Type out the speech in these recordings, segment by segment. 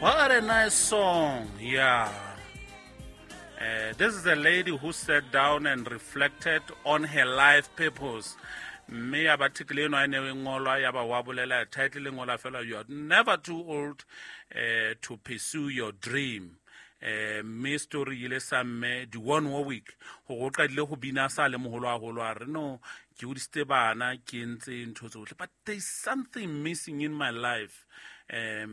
What a nice song. Yeah. This is a lady who sat down and reflected on her life purpose. Mme ya ba article eno a ne e ngolwa ya ba wa bolela title e ngola fela, "You are never too old to pursue your dream." Mme story ile sa mme Dionne Warwick gore o qadile go bina sa le moholo haholo, a re, "No, ke hodisitse bana, ke entse ntho tsohle, but there is something missing in my life." A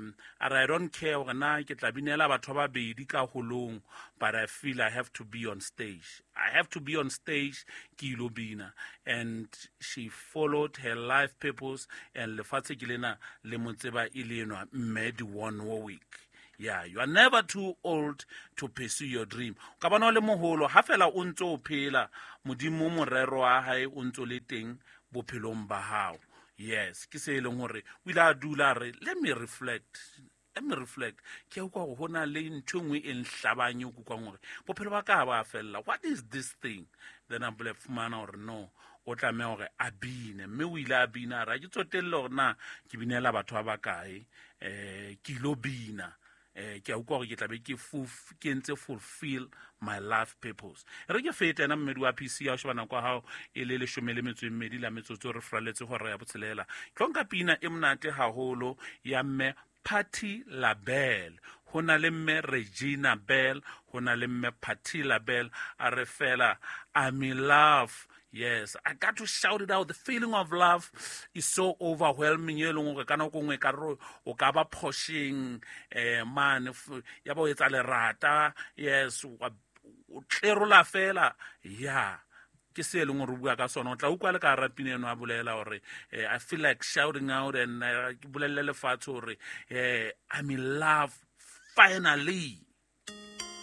re, "I don't care gore na ke tla binela batho ba babedi ka holong, but I feel I have to be on stage. I have to be on stage ke ilo bina." And she followed her life purpose, and lefatshe ke lena le mo tseba e le enwa mme Dionne Warwick. Yeah, you are never too old to pursue your dream. O ka bona o le moholo, ha fela o ntse o phela, Modimo morero wa hae o ntse o le teng bophelong ba hao. Yes, ke se e leng hore o ile a dula a re, "Let me reflect, let me reflect. Ke a utlwa hore ho na le ntho e nngwe e nhlabang, e kukwang hore bophelo ba ka ha ba fella. What is this thing?" Then a bole fumana hore no, o tlameha hore a bine. Mme o ile a bina, a re, "Ha ke tsotelle hore na ke binela batho ba bakae, ke ilo bina. Ke a utlwa hore ke tlabe ke entse fulfill my life purpose." Re ke fete ena mmedi wa PC ya ho sheba nako ya hao e le 12 la metsotso, re fraletse hora ya botshelela. Ke tlo nka pina e monate haholo ya mme Patti LaBelle. Ho na le mme Regina Belle, ho na le mme Patti LaBelle. A re fela, "I'm in love." Yes, I got to shout it out. The feeling of love is so overwhelming. E leng hore ka nako nngwe ka re o ka ba phosheng, mane ya ba o etsa lerata. Yes, o tlerola fela. Yeah. Ke se e leng hore o bua ka sona. O tla utlwa le ka hara pina eno a bolela hore, "I feel like shouting out and ke bolelle lefatshe hore, I'm in love finally."